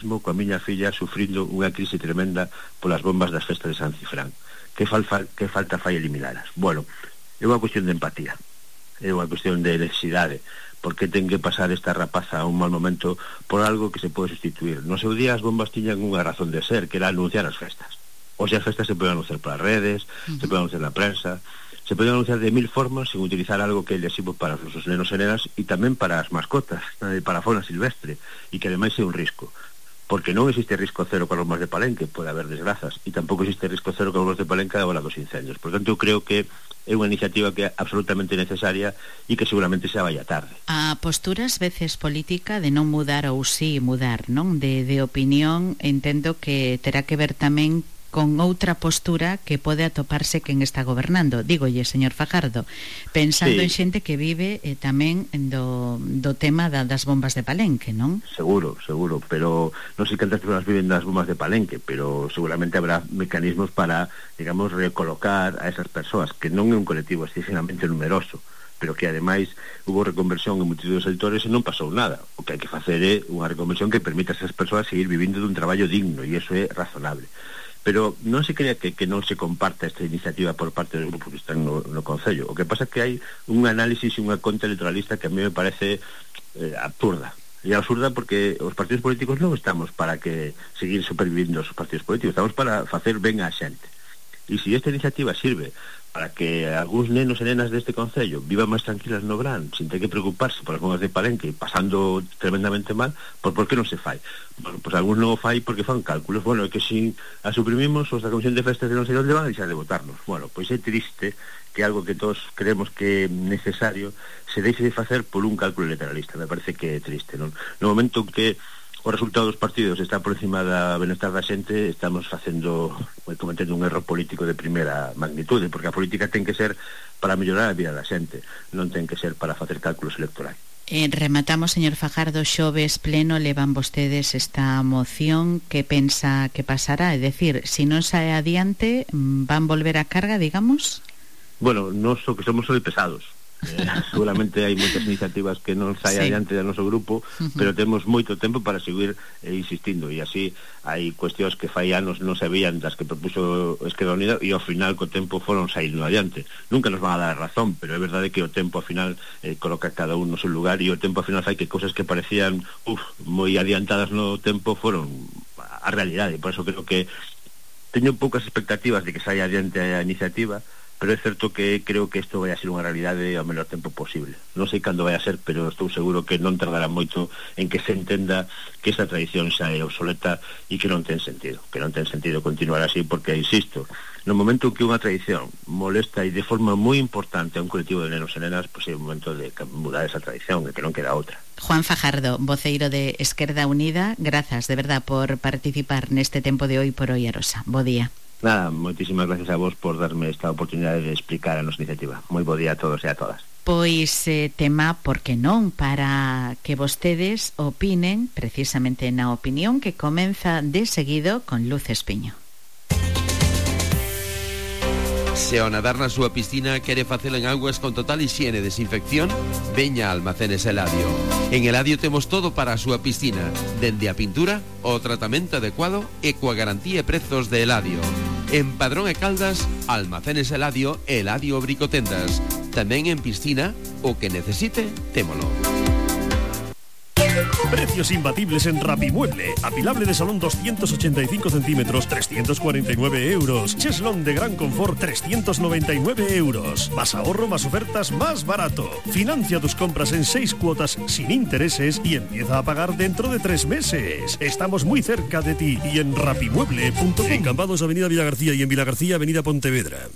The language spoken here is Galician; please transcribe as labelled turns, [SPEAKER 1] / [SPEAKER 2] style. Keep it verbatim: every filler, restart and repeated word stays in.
[SPEAKER 1] coa miña filla sufrindo unha crise tremenda polas bombas das festas de San Cifrán. Que, falfa, que falta fai eliminalas? Bueno, é unha cuestión de empatía, é unha cuestión de necesidade, porque ten que pasar esta rapaza a un mal momento por algo que se pode sustituir. No seu día as bombas tiñan unha razón de ser, que era anunciar as festas. O sea, as festas se poden anunciar polas redes, uh-huh. se poden anunciar na prensa, se poden anunciar de mil formas sin utilizar algo que é lesivo para os nosos nenos e nenas e tamén para as mascotas, para a fauna silvestre, e que ademais é un risco, porque non existe risco cero con as bombas de Palenque, pode haber desgrazas, e tampouco existe risco cero con as bombas de Palenque a hora dos incendios. Por tanto, eu creo que é unha iniciativa que é absolutamente necesaria e que seguramente xa vai a tarde.
[SPEAKER 2] A postura ás veces política de non mudar ou sí mudar, non? De, de opinión, entendo que terá que ver tamén con outra postura que pode atoparse quen está gobernando. Dígolle, señor Fajardo, pensando sí. en xente que vive eh, tamén do, do tema da, das bombas de Palenque, non?
[SPEAKER 1] Seguro, seguro, pero non sei cantas persoas viven das bombas de Palenque, pero seguramente habrá mecanismos para, digamos, recolocar a esas persoas, que non é un colectivo excesivamente numeroso, pero que ademais hubo reconversión en multitud de sectores e non pasou nada. O que hai que facer é unha reconversión que permita a esas persoas seguir vivindo dun traballo digno, e iso é razonable. Pero non se crea que, que non se comparta esta iniciativa por parte dos grupos que están no, no Concello. O que pasa é que hai un análisis e unha conta electoralista que a mí me parece eh, absurda. E absurda porque os partidos políticos non estamos para que seguir supervivindo os partidos políticos, estamos para facer ben a xente. E se esta iniciativa sirve para que algúns nenos e nenas deste Concello vivan máis tranquilas no verán, sin ter que preocuparse por as bombas de Palenque, pasando tremendamente mal, por, por que non se fai? Bueno, pois algúns non o fai porque fan cálculos. Bueno, é que se a suprimimos, os da Comisión de Festas de non sei onde van a deixar de votarnos. Bueno, pois é triste que algo que todos creemos que é necesario se deixe de facer por un cálculo electoralista. Me parece que é triste, non? No momento que o resultado dos partidos está por encima da benestar da xente, estamos facendo, cometendo un erro político de primeira magnitude, porque a política ten que ser para mellorar a vida da xente, non ten que ser para facer cálculos electorais.
[SPEAKER 2] Eh, rematamos, señor Fajardo, xoves pleno levan vostedes esta moción. Que pensa que pasará? É dicir, se non sae adiante, van volver a carga, digamos?
[SPEAKER 1] Bueno, non so que somos moi pesados. Eh, seguramente hai moitas iniciativas que non sai sí. adiante do noso grupo, uh-huh. pero temos moito tempo para seguir eh, insistindo, e así hai cuestións que fai anos non se veían das que propuso Esquerda Unida e ao final co tempo foron saindo adiante. Nunca nos van a dar razón, pero é verdade que o tempo ao final eh, coloca cada un no seu lugar, e o tempo ao final fai que cousas que parecían uf, moi adiantadas no tempo foron a realidade. Por eso creo que teño poucas expectativas de que saia adiante a iniciativa, pero é certo que creo que isto vai a ser unha realidade ao menor tempo posible. Non sei cando vai a ser, pero estou seguro que non tardará moito en que se entenda que esta tradición xa é obsoleta e que non ten sentido, que non ten sentido continuar así, porque, insisto, no momento en que unha tradición molesta e de forma moi importante a un colectivo de nenos e nenas, pois é o momento de mudar esa tradición, e que non queda outra.
[SPEAKER 2] Juan Fajardo, voceiro de Esquerda Unida, grazas de verdad por participar neste tempo de Hoy por Hoy Arosa. Bo día.
[SPEAKER 1] Nada, moitísimas gracias a vos por darme esta oportunidade de explicar a nosa iniciativa. Moi bo día a todos e a todas.
[SPEAKER 2] Pois eh, tema, por que non, para que vostedes opinen precisamente na opinión que comeza de seguido con Luz Espiño.
[SPEAKER 3] Se ao nadar na súa piscina quere facelo en augas con total higiene e desinfección, veña a Almacenes Eladio. En Eladio temos todo para a súa piscina, dende a pintura, o tratamento adecuado e coa garantía e prezos de Eladio. En Padrón e Caldas, Almacenes Eladio e Eladio Bricotendas. Tamén en piscina, o que necesite, témolo.
[SPEAKER 4] Precios imbatibles en Rapimueble. Apilable de salón doscientos ochenta y cinco centímetros, trescientos cuarenta y nueve euros. Cheslón de gran confort, trescientos noventa y nueve euros. Más ahorro, más ofertas, más barato. Financia tus compras en seis cuotas sin intereses y empieza a pagar dentro de tres meses. Estamos muy cerca de ti y en rapimueble punto com. En Cambados, Avenida Villagarcía, y en Villagarcía, Avenida Pontevedra.